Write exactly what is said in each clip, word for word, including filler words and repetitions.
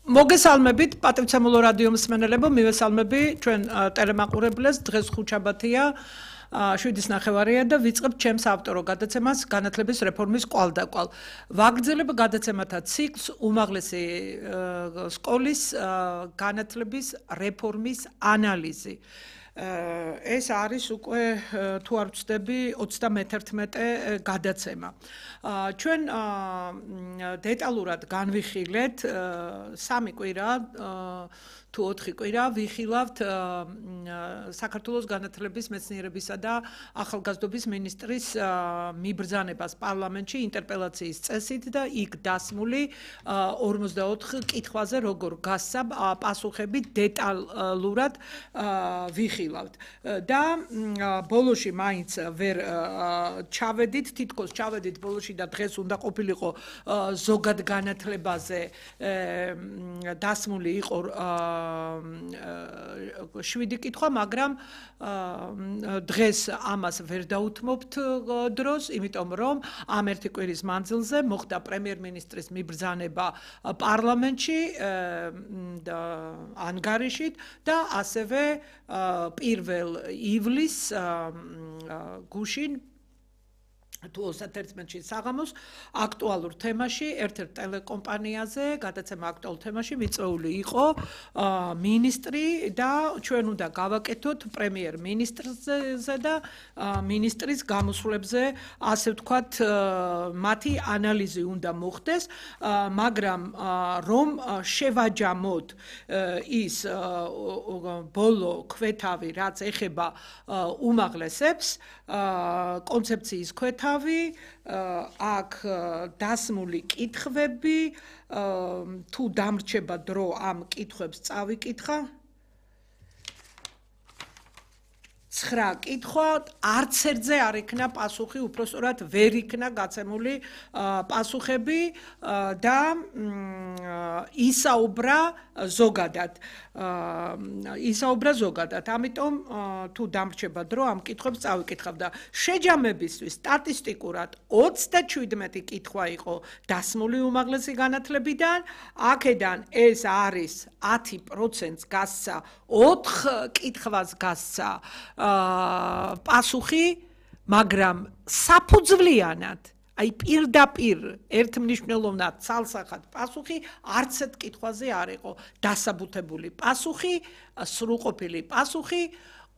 მოგესალმებით პატივცემულო რადიო მსმენელებო, მივესალმები ჩვენ ტელემაყურებლებს. დღეს ხუთშაბათია, შვიდის ნახევარია და ვიწყებთ ჩემს ავტორო გადაცემას განათლების რეფორმის კვალდაკვალ. ვაგრძელებ გადაცემათა ციკლს უმაღლესი სკოლის განათლების რეფორმის ანალიზი. ეს არის უკვე თუ არ ვცდები ოცდამეთერთმეტე გადაცემა. ჩვენ დეტალურად განვიხილეთ სამი კვირა თუ ოთხი კვირა ვიხილავთ საქართველოს განათლების მეცნიერებისა და ახალგაზრდობის მინისტრის მიბრძანებას პარლამენტში ინტერპელაციის წესით და იქ დასმული ორმოცდაოთხ კითხვაზე როგორ გასცა პასუხები დეტალურად ვიხილავთ და ბოლოში მაინც ვერ ჩავედით, თითქოს ჩავედით ბოლოში და დღეს უნდა ყოფილიყო ზოგად განათლებაზე დასმული იყო შვიდი კითხვა, მაგრამ დღეს ამას ვერ დაუთმობთ დროს, იმიტომ რომ ამ ერთი კვირის მანძილზე მოხდა პრემიერ-მინისტრის მიბრძანება პარლამენტში ანგარიშით და ასევე პირველ ივლისს გუშინ თუ ოცდაერთმეტში საღამოს აქტუალურ თემაში, ერთ-ერთ ტელეკომპანიაზე, გადაცემა აქტუალურ თემაში მიწვეული იყო მინისტრი და ჩვენ უნდა გავაკეთოთ პრემიერ-მინისტრზე და მინისტრის გამოსვლებზე, ასე ვთქვათ, მათი ანალიზი უნდა მოხდეს, მაგრამ რომ შევაჯამოთ ის ბოლო ქვეთავი, რაც ეხება უმაღლესებს, კონცეფციის ქვეთავი აქ დასმული კითხვები, თუ დამრჩება დრო ამ კითხვებს წავიკითხა. ცხრა კითხვა, არც ერთზე არ იქნა პასუხი, უпростоრად ვერ იქნა გაცემული პასუხები და ისაუბრა ზოგადად. ისაუბრა ზოგადად. ამიტომ თუ დამრჩება დრო ამ კითხვებს წავიკითხავ და შეჯამებისთვის სტატისტიკურად ოცდაშვიდმეტი კითხვა იყო დასმული უმაღლესი განათლებიდან, აქედან ეს არის ათი პროცენტს გასცა, ოთხ კითხვას გასცა პასუხი, მაგრამ საფუძვლიანად, აი პირდაპირ ერთმნიშვნელოვნად ცალსახად პასუხი არც ერთ კითხვაზე არ იყო დასაბუთებული პასუხი, სრულყოფილი პასუხი,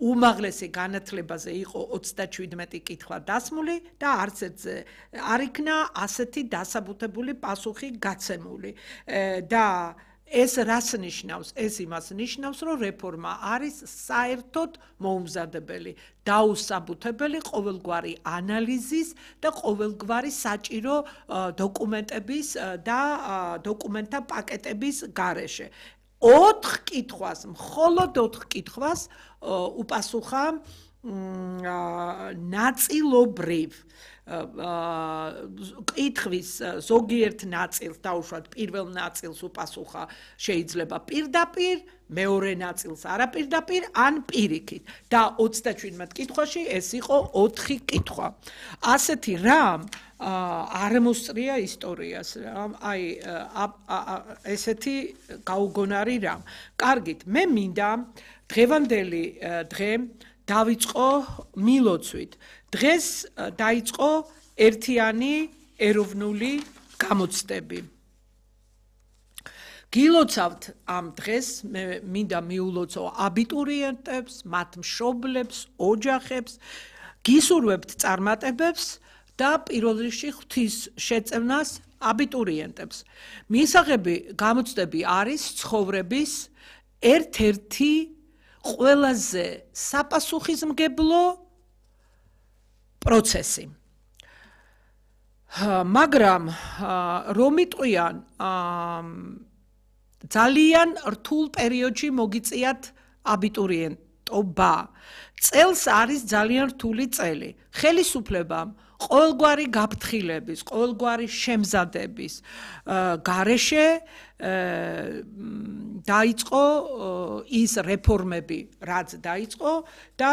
უმაღლესი განათლებაზე იყო ოცდაშვიდმეტი კითხვა დასმული და არც ერთზე არ იქნა ასეთი დასაბუთებული პასუხი გაცემული და ეს რას ნიშნავს? ეს იმას ნიშნავს, რომ რეფორმა არის საერთოდ მოუმზადებელი, დაუსაბუთებელი ყოველგვარი ანალიზის და ყოველგვარი საჭირო დოკუმენტების და დოკუმენტთა პაკეტების გარეშე. ოთხ კითხვას, მხოლოდ ოთხ კითხვას უპასუხა ნაწილობრივ კითხვის ზოგიერთ ნაწილს დაუშვათ პირველ ნაწილს უპასუხა შეიძლება პირდაპირ, მეორე ნაწილს არაპირდაპირ ან პირიქით და ოცდაშვიდმეტ კითხვაში ეს იყო ოთხი კითხვა. ასეთი რამ არ მოსწრია ისტორიას, აი ესეთი გაუგონარი რამ. კარგით, მე მინდა დღევანდელი დღე დავიწყო მილოცვით. დღეს დაიწყო ერთიანი ეროვნული გამოცდები. გილოცავთ ამ დღეს, მე მინდა მიულოცო აბიტურიენტებს, მათ მშობლებს, ოჯახებს, გისურვებთ წარმატებებს და პირველ რიგში ღვთის შეწევნას აბიტურიენტებს. მისაღები გამოცდები არის ცხოვრების ერთ-ერთი ყველაზე საპასუხისმგებლო პროცესი. მაგრამ რომ იტყვიან ძალიან რთულ პერიოდში მოგიწიათ აბიტურიენტობა. წელს არის ძალიან რთული წელი. ხელისუფლებამ ყოველგვარი გაფრთხილების, ყოველგვარი შემზადების გარეშე დაიწყო ის რეფორმები, რაც დაიწყო და